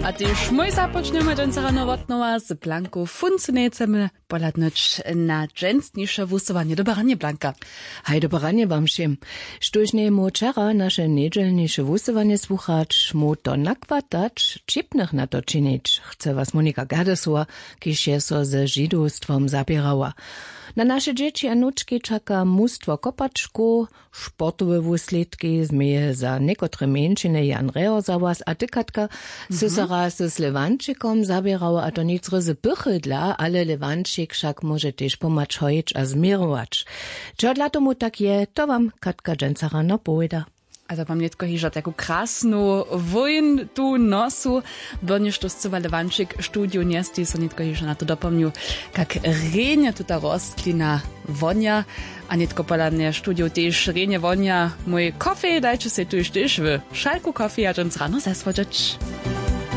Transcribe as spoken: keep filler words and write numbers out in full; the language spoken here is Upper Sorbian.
A tež mój započnjemy dźensa rano wotnowa z Blanku Funcenecem. Pohladnyć na dźensniše wusyłanje. Dobre ranje, Blanka. Haj, dobre ranje wam wšěm. Štóž njejmóhł wčera naše njedźelniše wusyłanje słuchać, móhł to nakwatać, ćipnych na to činić, chce was Monika Gerdesowa, kiž je so ze židowstwom zaběrała. Na naše dźěći a nučki čaka mustwo kopačkow, sportowe wuslědki změje za někotre mjeńšiny Jan Reho za was a ty, Katka, sy so raz z Lewančikom zaběrała, a to nic ryzy pychy dla, ale Lewančik wšak móže tež pomhać hojić a změrować. Čehodla tomu tak je, to wam Katka dźensa rano powěda. A to mam nětko hižo taku krasnu wójn tu nosu, byrnjež to scyła Lewančik w studiju njesteji, so nětko hižo na to dopomnju, kak rjenje tuta rostlina wonja. A nětko pola mnje w studiju tež rjenje wonja mój kofej. Dajće sej tuž tež w šalku kofeja dźensa rano zasłodźeć.